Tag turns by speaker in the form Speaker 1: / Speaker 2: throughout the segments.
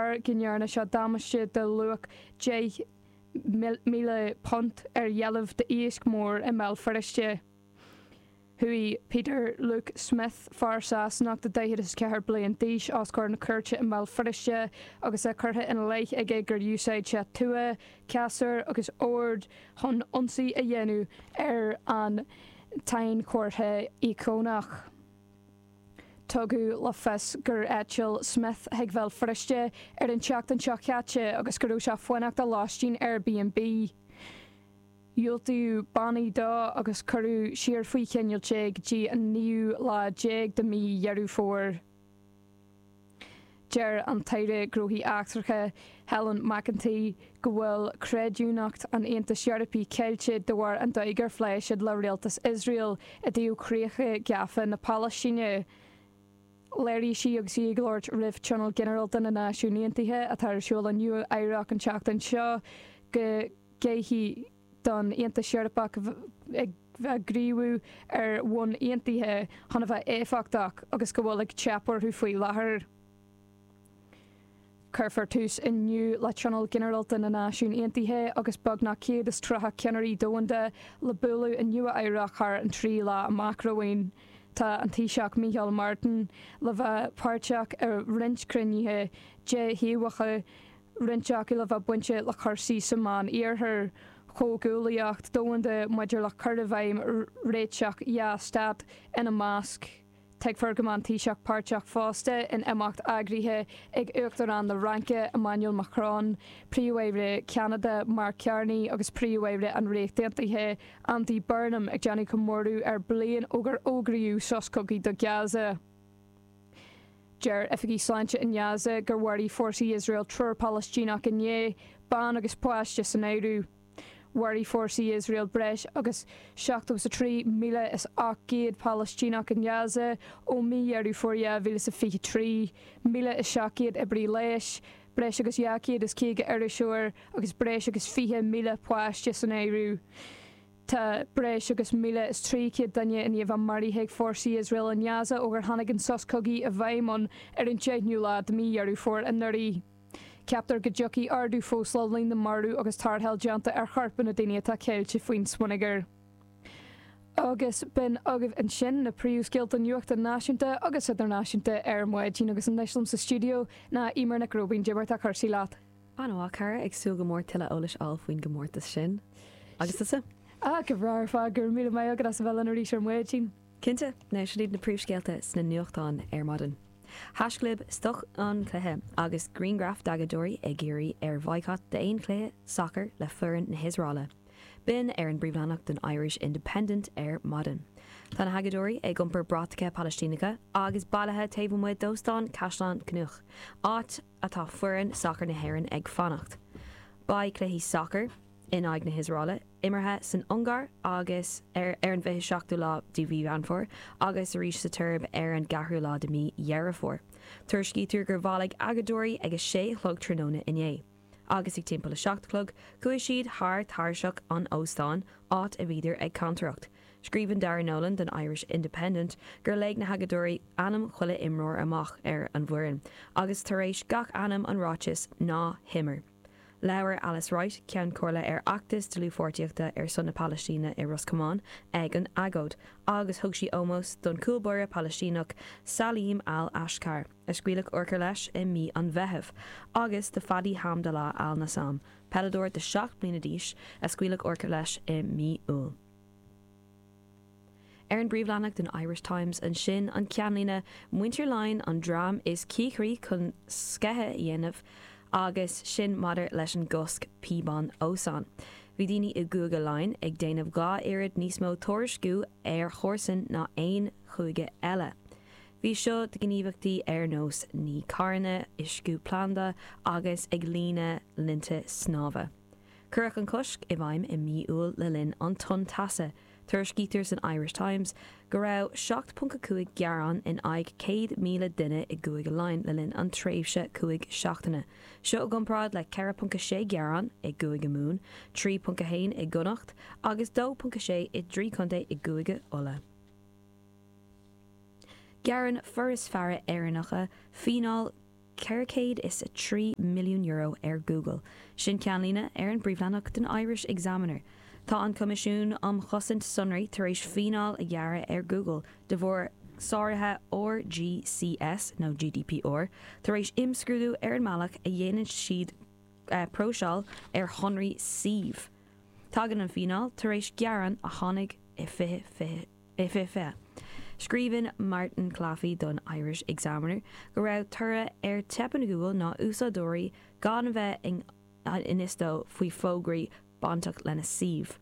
Speaker 1: bharr go ndearna sé damáiste de luach £10,000 ar dheilbh d'iasc mór i mBéal Feirste. Chuaigh Peter Luke Smith, fear Sasanach de 44 bliain d'aois, os comhair na cúirte i mBéal Feirste agus é curtha ina leith aige gur úsáid sé tua, casúr agus ord chun ionsaí a dhéanamh ar an tsainchomhartha íocónach. Tugadh le fios gur eitil Smith chuig Béal Feirste ar an tseachtain seo caite agus go raibh sé ag fanacht i lóistín Airbnb. Diúltaíodh bannaí dó agus cuireadh siar faoi choinneáil é go dtí an naoú lá déag de mhí Dheireadh Fómhair. Deir an tAire Gnóthaí Eachtracha Helen McEntee go bhfuil creidiúnacht an Aontais Eorpaigh caillte de bharr an dóigh ar phléigh siad le rialtas Iosrael i dtaobh chríocha gafa na Palaistíne. Léirigh sí agus í ag labhairt roimh Tionól Ginearálta na Náisiún Aontaithe atá ar siúl i Nua Eabhrac an tseachtain seo go gcaithfidh don Aontas Eorpach ag bheith ag gníomhú ar bhonn aontaithe chun a bheith éifeachtach agus go bhfuil ag teip orthu faoi láthair. Cuirfear tús inniu le Tionól Ginearálta na Náisiún Aontaithe agus beagnach 130 ceannairí domhanda le bualadh i Nua Eabhrac thar an 3 lá amach romhainn. Tá an Taoiseach Micheál Martin le bheith páirteach i roinnt cruinnithe déthaobhacha, roinnt acu le bheith bainte le cúrsaí sa Mheán Iarthar, comhghuaillíocht domhanda maidir le cur i bhfeidhm réiteach dhá stát ina measc. Tuigfear go mbeidh an Taoiseach páirteach fosta in imeacht eagraithe ag Uachtarán na Fhraince, Emmanuel Macron, Príomh-Aire Cheanada, Mark Carney agus Príomh-Aire an Ríocht Aontaithe, Andy Burnham ag déanamh comóradh ar bliain ó gur fhógraíodh sos cogaidh do Gaza. Deir oifigigh sláinte i nGaza gur mharaigh fórsaí Iosrael triúr Palaistíneach inné, bean agus páiste san áireamh. Mharaigh fórsaí Iosrael breis agus 73,800 Palaistíneach i nGaza ó mí Dheireadh Fómhair 2023, 1,700 oibrí leighis, breis agus 250 iriseoir agus breis agus 20,000 páiste san áireamh. Tá breis agus 1,300 duine i ndiaidh a bheith maraithe ag fórsaí Iosrael i nGaza ó gur tháinig an sos cogaidh i bhfeidhm ann ar an 10ú lá de mhí Dheireadh Fómhair anuraidh. Ceaptar go dtiocfaidh ardú fós le líon na marbh agus tarrtháil déanta ar choirp na daoine atá ceilte faoin smionagar. Agus b'in agaibh ansin na príomhscéalta nuachta náisiúnta agus idirnáisiúnta ar maidin agus anois liom sa stiúideo ná Eimear Nic Róibín. Cad é mar atá cúrsaí leat.
Speaker 2: An-mhaith, cara, ag súil go mór tuilleadh eolais a fháil faoin gcomórtas sin. Agus tusa?
Speaker 1: Ah, go breá ar fad, go raibh míle maith agat as a bheith linn arís ar maidin.
Speaker 2: Cinnte! Now, sin iad na príomhscéalta sna nuachtáin ar maidin. Haischlib Stop an cluiche agus grianghraif d'agóideoirí ag iarraidh ar bhoycott d'aon chluiche sacair le foireann na hIosraeile. B'in ar an bpríomhleathanach den Irish Independent ar maidin. Tá na hagóideoirí ag iompar bratacha Palaistíneacha agus bailithe taobh amuigh d'Óstán Caisleán Cnoic, áit atá foireann sacair na hÉireann ag fanacht. Beidh cluichí sacair in aghaidh na hIosraeile imeartha san Ungáir agus ar ar an 27ú lá de mhí Mheán Fómhair agus arís sa tSeirbia ar an gceathrú lá de mhí Dheireadh Fómhair. Tuairiscítear gur bhailigh agóideoirí ag 6 a chlog tráthnóna inné. Agus ag timpeall a 7 a chlog chuaigh siad thar tairseach an óstáin, áit a bhíodar ag cantaireacht. Scríobhann Darragh Nolan don Irish Independent gur léigh na hagóideoirí ainm chuile imreoir amach ar an bhfoireann, agus tar éis gach ainm an ráiteas 'Ná himir'. Labhair Alice Wright, Ceann Comhairle ar fheachtas dlúthpháirtíochta ar son na Palaistíne i Ros Comáin, ag an agóid, agus thug sí ómós don chúl báire Palaistíneach Salim Al Ashkar, a scaoileadh urchar leis i mí an Mheithimh, agus do Fadi Hamdallah Al Nassam, peileadóir de 7 mbliana d'aois, a scaoileadh urchar leis i mí Iúil. Ar an bpríomhleathanach den Irish Times ansin, an ceannlíne, Muintir Laighean an dream is cíochraí chun sceitheadh a dhéanamh agus sin maidir leis an gcosc píobán ósóin. Bhí daoine i gCúige Laighean ag déanamh 2 oiread níos mó tuairisciú ar chomharsain ná aon chúige eile. Bhí seo do ghníomhaíochtaí ar nós ní carranna, uisciú planda agus ag líonadh linnte snámha. Cuireadh an cosc i bhfeidhm i mí Iúil le linn an tonn teasa. Tuairiscítear san Irish Times go raibh 7.5 gearán in aghaidh 100,000 duine i gCúige Laighean le linn an tréimhse 5 seachtaine. Seo i gcomparáid le 4.6 gearán i gCúige Mumhan, 3.1 i gConnacht agus 2.6 i dtrí chontae i gCúige Uladh. Gearrann Foras Faire Éireannacha fíneáil. €403 milliún ar Google. Sin ceannlíne ar an bpríomhleathanach den Irish Examiner. Tá an Coimisiún um Chosaint Sonraí tar éis fíneáil a ghearradh ar Google de bharr sáruithe RGCS nó GDPR tar éis imscrúdú ar an mbealach a dhéanann siad próiseáil ar shonraí suímh. Tagann an fíneáil tar éis gearán a tháinig i 2020. Scríobhann Martin Claffey don Irish Examiner go raibh toradh ar teipeanna Google ná úsáideoirí gan a bheith in fhios dóibh faoi fógraí bainteach lena suíomh.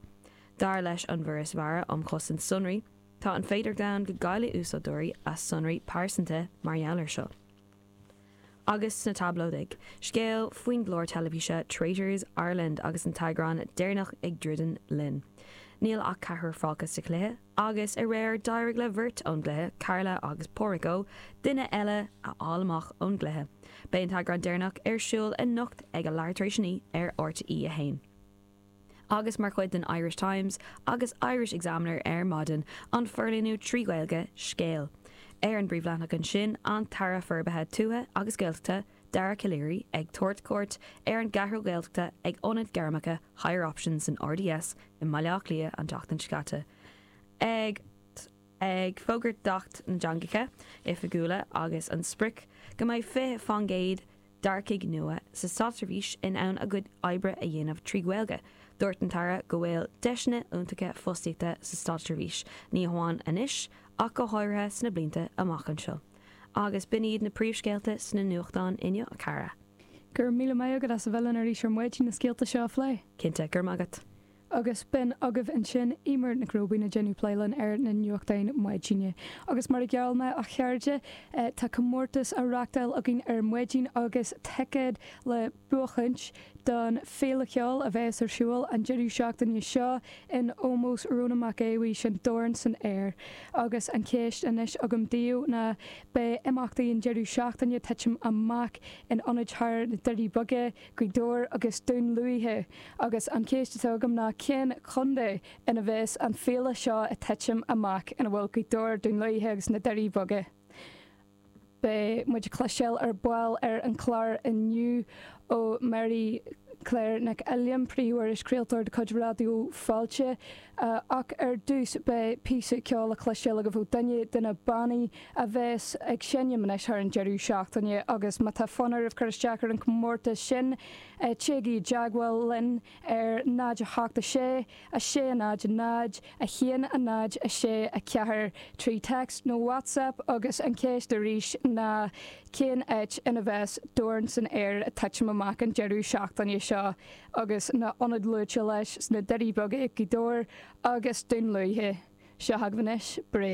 Speaker 2: Dar leis an bhForas Mhara um Chosaint Sonraí, tá an féidearthacht ann go gcaillfidh úsáideoirí a sonraí pearsanta mar gheall air seo. Agus sna tablóidigh, scéal faoin gclár teilifíse Traitors Ireland agus an t-eagrán deireanach ag druidim linn. Níl ach ceathrar fágtha sa chluiche agus aréir d'éirigh le beirt ón gcluiche, Carla agus Pádraig Ó, duine eile a fháil amach ón gcluiche. Beidh an t-eagrán deireanach ar siúl anocht ag a leathuair tar éis a 9 ar RTÉ 1. Agus mar chuid den Irish Times agus Irish Examiner ar maidin, an forlíonadh 3 Ghaeilge, Scéal. Ar an bpríomhleathanach ansin, an tAire Forbartha Tuaithe agus Gaeltachta, Dara Calleary, ag tabhairt cuairt ar an gCeathrú Ghaeltachta ag Ionad Gairmeacha Higher Options san RDS i mBaile Átha Cliath an tseachtain seo caite. Ag ag fógairt d'Acht na dTeangacha Oifigiúla agus an sprioc go mbeidh 20 fán gcéad d'earcaigh nua sa státseirbhís in ann a gcuid oibre a dhéanamh trí Ghaeilge. Dúirt an tAire go bhfuil deiseanna iontacha fostaíochta sa státseirbhís, ní hamháin anois ach go háirithe sna blianta amach anseo. Agus b'in iad na príomhscéalta sna nuachtáin inniu, a chara.
Speaker 1: Go raibh míle maith agat as a bheith linn arís ar maidin na scéalta seo a phlé.
Speaker 2: Cinnte, go raibh maith agat.
Speaker 1: Agus b'in agaibh ansin Eimear Nic Róibín ag déanamh plé linn ar na nuachtáin maidine. Agus mar a gheall mé, a chairde, tá comórtas á reachtáil againn ar maidin agus ticéad le buachaint don Féile Cheoil a bheas ar siúl an deireadh seachtaine seo in ómós Rónán Mac Aodha Bhuí, sin Dorn san Aer. Agus an cheist anois agam daoibh ná beidh imeachtaí an deireadh seachtaine titim amach in ionaid thar na Doirí Beaga, Gaoth Dobhair agus Dún Lúiche agus an cheist atá agam ná cén chontae ina bheas an féile seo ag titim amach ina bhfuil Gaoth Dobhair, Dún Lúiche agus na Doirí Beaga? Beidh muid ag cloisteáil ar ball ar an chlár inniu ó Mary Claire Nic Uilliam, príomhiriseoir craoltóir de chuid Raidió Fáilte. Ach ar dtús beidh píosa ceoil le cloisteáil agaibh ó duine de na bannaí a bheas ag seinm anois thar an deireadh seachtaine agus má tá fonn oraibh cur isteach ar an chomórtas sin téigí i dteagmháil linn ar 0 8 6 6 0 0 1 0 6 4 trí text nó WhatsApp agus an cheist arís ná cén áit ina bheas Dorn san Aer ag titim amach an deireadh seachtaine seo? agus na hionaid luaite leis sna Doirí Beaga, Gaoth Dobhair agus Dún Lúiche. Seo agaibh anois, Bréag.